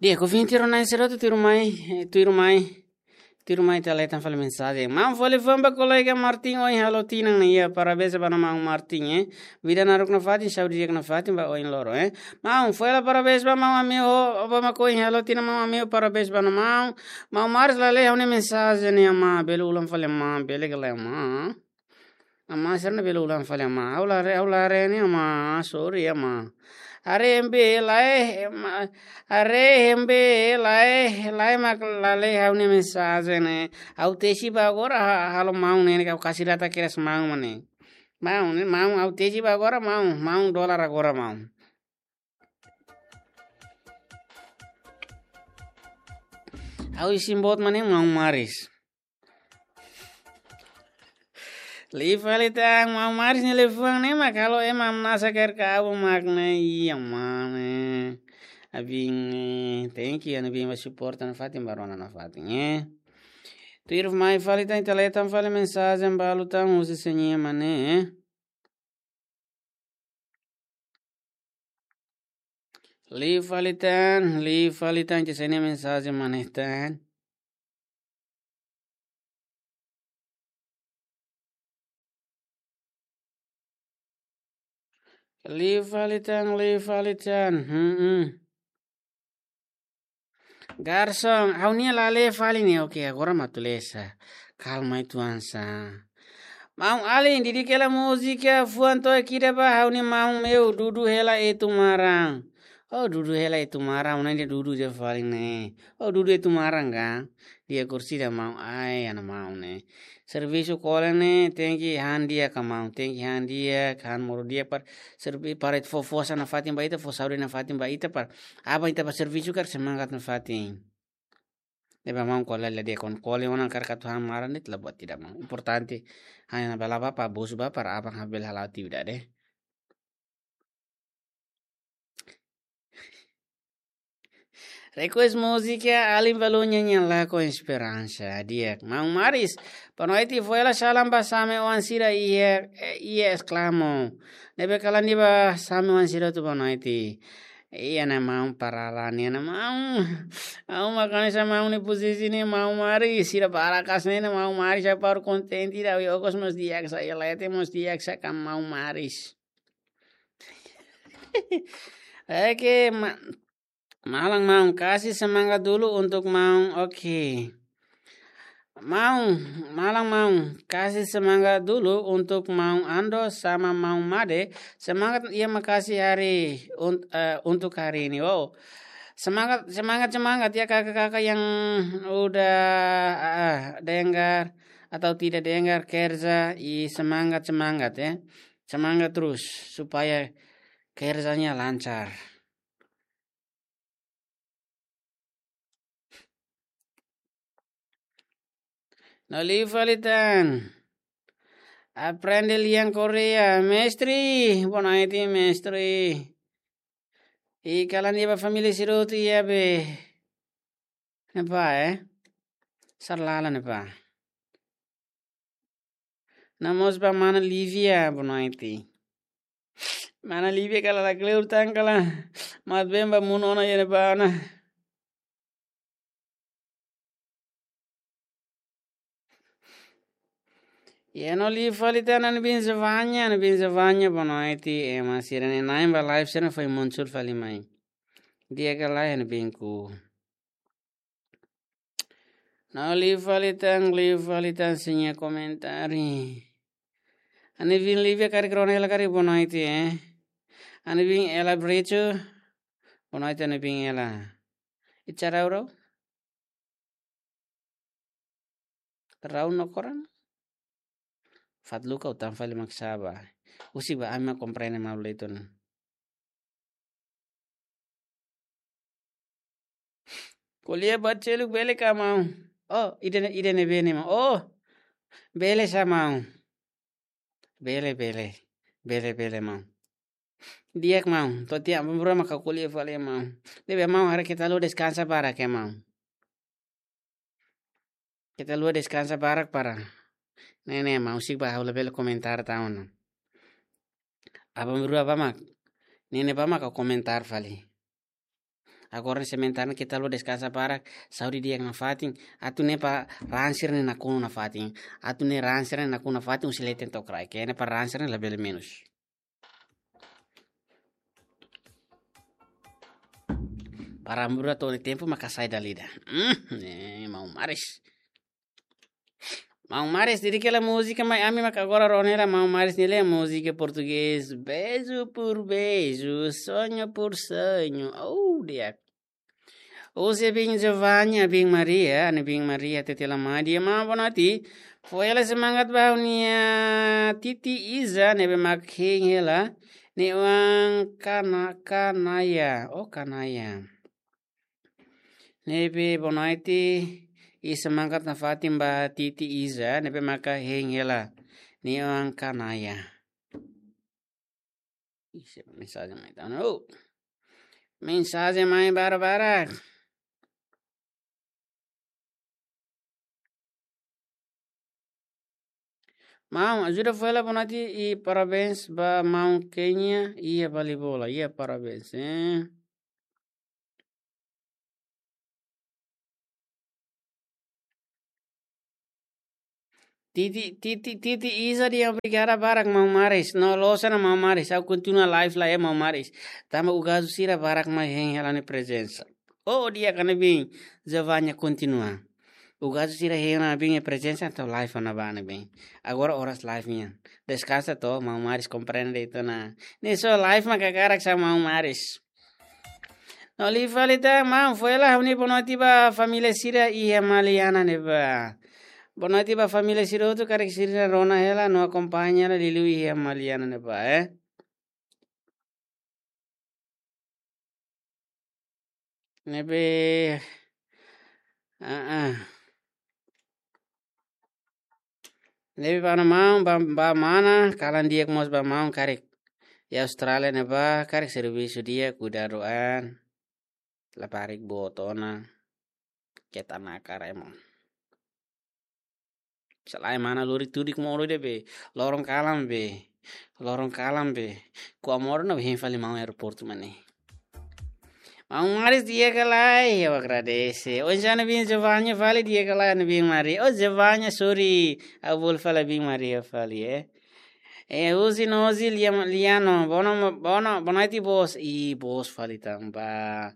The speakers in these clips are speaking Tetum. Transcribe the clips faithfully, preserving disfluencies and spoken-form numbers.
Di'ak, ouvinte rona sira hotu, tuirmai, eh, tuirmai, tuirmai ita leten fali mensajen. Maun fó liafuan ba kolega Martin, ohin halo tinan ne'e, iha, parabéns ba maun Martin, eh. Vida naruk nafatin, saúde di'ak nafatin ba oin loron, eh. Maun, fó hela parabéns ba maun Amio, ba mak ohin halo tinan maun Amio, parabéns ba maun. Maun Maris, la lee ha'u-nia mensajen ne'e, amá, bele ulang fali, amá, bele ka lae, amá. Amá, sira-ne'e bele ulang fali, amá. Ha'u la haree, ha'u la haree ne'e, amá. Sorry, amá. Haree hembe lae, amá. Haree hembe lae, lae mak la lee ha'u-nia mensajen ne'e. Ha'u tesi ba agora, ha-, halo maun ne'e, ne'e ka ha'u kasi data kedas maun mak ne'e. Maun ne'e, maun, ha'u tesi ba agora, maun, maun dolar agora, maun. Ha'u isin boot mak ne'e, maun Maris. Liu fali tan, maun Maris nia liafuan ne'e mak halo ema hamnasa kaer kabu mak ne'e, iha mane. Abin, eh, thank you, abin ba suporta nafatin, ba rona nafatin, eh. Tuirmai fali tan, ita leten fali mensajen balu tan, husi Señor mak ne'e, eh. Liu fali tan, liu fali tan, ita sei haree mensajen mak ne'e tan. Liu fali tan, liu fali tan. Hmm, hmm. Garson, ha'u-nia la lee fali ne'e, oke, agora mak atu lee sá. Kalma uitoan sá. Maun Alin, didik hela múzika fuan to'ok ida ba ha'u-nia maun, meu, dudu hela Etu Maran. Oh, dudu hela Etu Maran, ne'e dudu de'it fali ne'e. Oh, dudu Etu Maran ka? Di'ak, orsida maun, ai, ana maun ne'e. Servisu kole ne'e, tenke han di'ak ka maun, tenke han di'ak, han moru di'ak para servi-, para fó forsa nafatin ba ita, fó saúde nafatin ba ita para aban ita bá servisu karik semangat nafatin. Ne'ebé maun kole la di'ak, kole ona karik atu han maran ne'e la buat ida maun. Importante, hanya bala bá para bosu bá para aban bele hala'o atividade. Request múzika Alin Balu, nyanyian lagu Esperansa. Di'ak, maun Maris, boa noite, fó hela salam ba same-oan sira iha, iha Esclamo. Ne'ebé kalan ida ba same-oan sira hotu, boa noite. Iha ne'e maun, para la ne'e ne'e maun. Ha'u mak hanesan maun nia posisi ne'e, maun Maris, sira barak hanesan ne'e maun Maris, ha'u baru kontente ida, ha'u iha okos mós di'ak sá, iha leten mós di'ak sá ka maun Maris. Oke, ma-, malam maun, kasih semangat dulu untuk maun. Oke. Maun, malam maun, kasih semangat dulu untuk maun Ando sama maun Made. Semangat, iha makasih hari un-, eh, untuk hari ini. Oh. Semangat, semangat, semangat ya kakak-kakak yang udah, ah, dengar atau tidak dengar kerja, i semangat, semangat ya. Semangat terus supaya kerjanya lancar. No liu fali tan. Aprende lian Korea. Mestre, boa noite, mestre. I kalan iha ba família sira hotu iha be. Ne'ebá, eh? Sarlala ne'ebá. No mós ba mana Lívia, boa noite. Mana Lívia kala la kleur tan kala. Mat bem ba mun ona iha ne'ebá ona. Iha no liu fali tan, Ana Bin Zavanya, Ana Bin Zavanya, boa noite. Ema sira-ne'e na'in ba live sira-ne'e foin muncul fali mai. Di'ak ka lae, Ana Bin ku. No liu fali tan, liu fali tan, sei iha komentáriu. Ana Bin Lívia karik rona hela karik, boa noite, eh. Ana Bin Ela Brecho, boa noite, Ana Bin Ela. Icha rau rau? Rau no koran? Fatluka utan fali mak saba. Husik ba, ami mak komprende malu-leiton. Ko'alia ba seluk bele ka maun? Oh, ida-ne'e, ida-ne'ebé ne'e maun? Oh, bele sá maun. Bele, bele. Bele, bele maun. Di'ak maun. To'o tiha aban-bainrua mak ha'u ko'alia fali maun. Ne'ebé maun, haree keta haluha deskansa barak ya maun. Keta haluha deskansa barak para. Ne'e ne'e maun, husik ba ha'u labele komentar tan ona. Aban-bainrua bá mak. Ne'e ne'e bá mak ha'u komentar fali. Agora ne'e sementara ne'e keta haluha deskansa barak, saúde di'ak nafatin, atu ne'e para raan sira ne'e nakonu nafatin, atu ne'e raan sira ne'e nakonu nafatin, husi leten to'o kraik, ne'e para raan sira ne'e labele menus. Para mura to'o ne'e tempu maka sai dala ida. Hmm, ne'e maun Maris. Maun Maris, diri kela múzika, mai ami maka agora rona hela Maun Maris nia múzika portugés. Beijo por beijo, sonho por sonho. Oh, di'ak. Husi biin Giovanni, biin Maria, ne'e biin Maria, tete la mai dia ma bonati. Foin hela semangat ba ha'u-nia Titi Iza, ne'ebé mak hein hela. Nia oan Kana, Kanaya, oh Kanaya. Ne'ebé bonati, i semangat nafatin ba Titi Iza, ne'ebé maka hein hela. Nia oan Kanaya. Ih, se mensajen mai tan. Oh. Mensajen mai barak-barak. Maun, ajuda foin hela bonati i parabéns ba maun Kenya, iha bali bola, iha parabéns, eh. Titi, Titi, Titi Iza dehan obrigada barak Maun Maris. No loos ona Maun Maris. Ha'u kontinua live lai, eh, Maun Maris. Tanba ugazu sira barak mak hein hela nia prezensa. Oh, di'ak, ne'e biin. Giovanni kontinua. Ugazu sira hein ona biin nia prezensa, entaun live ona ba ne'e biin. Agora oras live nian. Deskansa to'o, Maun Maris komprende de'it ona. Ne'e só live mak hakarak sa Maun Maris. No liu fali tan, maun, foin hela ha'u-nia bonoti ba família sira iha Maliana ne'ebá. Bonoti ba família sira hotu, karik sira rona hela no akompaña hela liuliu iha Maliana ne'ebá, eh. Ne'ebé, ah, ah. Ne'ebé ba maun, ba, ba mana, kalan di'ak mós ba maun karik. Iha Austrália ne'ebá, karik servisu di'ak, kuidadu an. Labarik boot ona. Keta nakar ema. Selae mana lori tudik modo ida be. Loron kalan be. Loron kalan be. Kua modo na hein fali maun aeroportu mak ne'e. Maun Maris di'ak ka lae, ha'u agradese. Oinsá ne'e biin Giovanni fali di'ak ka lae ne'e biin Maria. Oh, Giovanni, sorry. Ha'u bolu fali biin Maria fali, eh. Eh, husi Nozi Liam-, Liano. Bono, bono, bonati boos. Ih, boos fali tanba.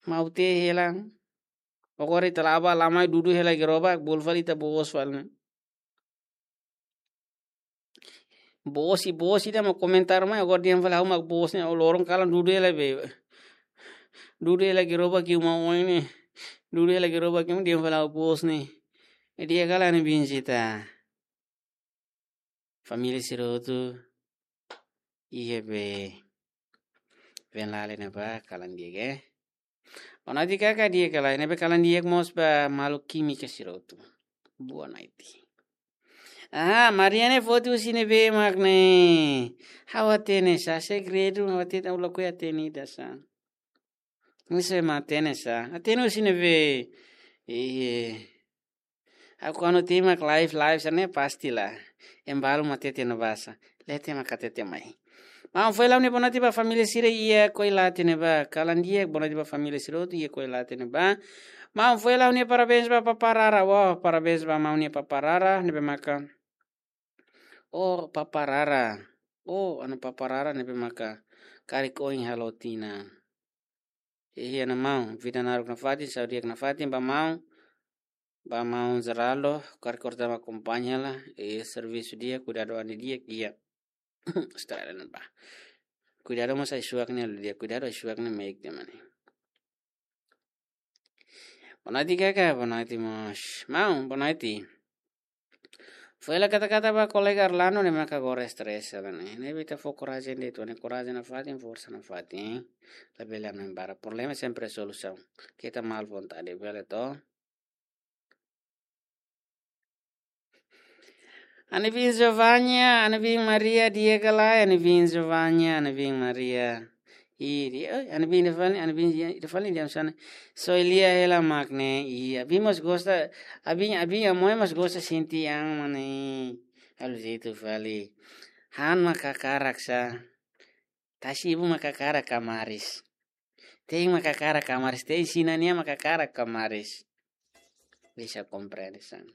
Maun tee hela. Agora ita la'o ba la mai dudu hela gerobak, bolu fali ita boos fali. Boos i boos ida mak komentar mai, agora dehan fali ha'u mak boos ne'e, loron kalan dudu hela be. Dudu hela gerobak iha uma oin ne'e. Dudu hela gerobak iha uma, dehan fali ha'u boos ne'e. Di'ak ka lae ne'e biin ita. Família sira hotu iha be Venlale ne'ebá, kalan di'ak, eh. Bonoti kaka di'ak ka lae, ne'ebé kalan di'ak mós ba maluk kímika sira hotu. Boa noite. Ah, Maria ne'e foti husi ne'ebé mak ne'e. Ha'u hatene sa, segredu, ha'u hatene, ha'u lakohi hatene ida sa. Ne'e sé mak hatene sa. Hatene husi ne'ebé. Iye. Ha'u kuandu timak live, live sa ne'e pasti la. Ema balu mak hatete no basa. Leten mak hatete mai. Maun, foin hela ha'u-nia bonoti ba família sira iha Koilate ne'ebá. Kalan di'ak, bonoti ba família sira hotu iha Koilate ne'ebá. Maun, foin hela ha'u-nia parabéns ba Papa Rara. Wah, parabéns ba maun nia Papa Rara. Ne'ebé maka. Oh, Papa Rara. Oh, anu Papa Rara ne'ebé maka. Karik oin halo tinan. Iha ne'e maun, vida naruk nafatin, saúde di'ak nafatin ba maun, ba maun Geraldo, karik orsida mak akompaña hela, eh, servisu di'ak, kuidadu an di'ak, di'ak. Australia ne'ebá. Kuidadu mós ai-suak ne'e halo di'ak, kuidadu ai-suak ne'e meik tiha mane. Bonoti kaka, bonoti mós. Maun, bonoti. Foin hela kata-kata ba kolega Arlando ne'e maka agora estrese la ne'e. Ne'ebé ita fó korajen de'it, ne'e korajen nafatin, forsa nafatin. Labele hanoin barak. Problema sempre solusaun. Keta mal vontade, bele to. Ha'u-nia biin Giovanni, ha'u-nia biin Maria, di'ak ka lae, ha'u-nia biin Giovanni, ha'u-nia biin Maria. Ih, di'ak, eh, ha'u-nia biin ida fali, ha'u-nia biin ida fali dehan hanesan ne'e. Só lia hela mak ne'e, ih, ha'u-nia biin mós gosta, ha'u-nia biin, ha'u-nia biin Amoy mós gosta sente an mak ne'e. Halo jeitu fali. Han mak hakarak sa. Tasi ibu mak hakarak ka Maris. Tein mak hakarak kamaris, tein sira-nian mak hakarak kamaris. Bisa komprende, san.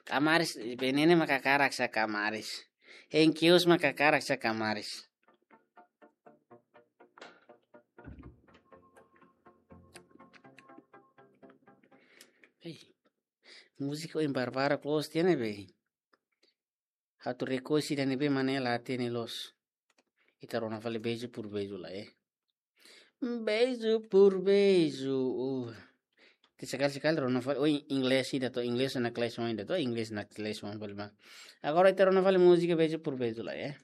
Kamaris, ne'e mak hakarak sai kamaris. Hein kios mak hakarak sai kamaris. Hei, múzika ohin barbarak loos tiha ne'ebé. Atu rekoñese ida ne'ebé mak ne'e la hatene loos. Ita rona fali beijo por beijo lai, eh. Beijo por beijo. Uh. Ita sekali-sekali rona fali, oh, inglés ida to, inglés na class one ida to, inglés na class one fali ba. Agora ita rona fali múzika beijo por beijo lai, eh.